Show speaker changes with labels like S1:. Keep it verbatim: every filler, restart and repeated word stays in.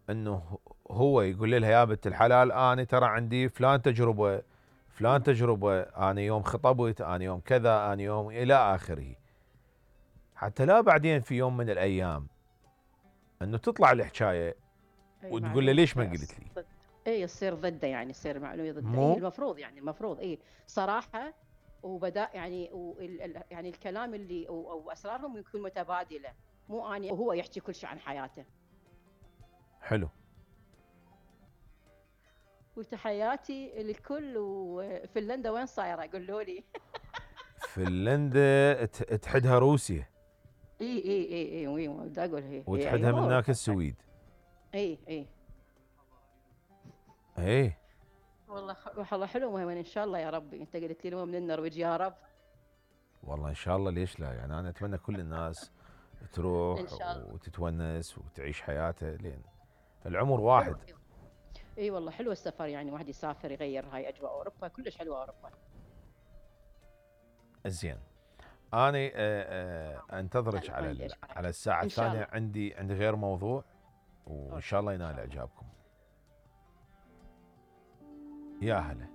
S1: انه هو يقول لها يا بنت الحلال انا ترى عندي فلان تجربه فلان تجربه، انا يوم خطبت، انا يوم كذا، انا يوم الى اخره. حتى لا بعدين في يوم من الايام انه تطلع الحكايه
S2: اي
S1: وتقول له
S2: معلومه
S1: ليش ما
S2: تصير
S1: قلت لي؟
S2: ضد. اي يصير ضده، يعني يصير معلومه ضده. اي
S1: مو
S2: المفروض، يعني المفروض اي صراحه. وبدا يعني وال ال- يعني الكلام اللي او, أو اسرارهم يكون متبادله، مو اني وهو يحكي كل شيء عن حياته.
S1: حلو.
S2: وتحياتي للكل. وفنلندا وين صايره قولوا لي؟
S1: فنلندا ت- تحدها روسيا
S2: اي اي اي اي وي بدي اقول هي هي هي
S1: وتحدها من هناك
S2: اوروبا.
S1: السويد.
S2: اي اي
S1: ايه
S2: والله خ- والله حلو. وين ان شاء الله يا ربي، انت قلت لي من النرويج يا رب.
S1: والله ان شاء الله، ليش لا؟ يعني انا اتمنى كل الناس
S2: ان
S1: تروح
S2: شاء الله.
S1: وتتونس وتعيش حياتها، لين العمر
S2: حلو.
S1: واحد.
S2: اي والله حلو السفر، يعني واحد يسافر يغير هاي اجواء اوروبا، كلش حلوه اوروبا.
S1: زين. انا آه، آه، انتظرك
S2: هلا ما
S1: على
S2: عندي
S1: ال-
S2: ايش حاجه.
S1: على الساعه
S2: ان شاء
S1: الثانيه،
S2: الله.
S1: عندي عندي غير موضوع، وان
S2: اوكي
S1: شاء الله
S2: ان
S1: ينال
S2: شاء الله.
S1: اعجابكم. يا هلا.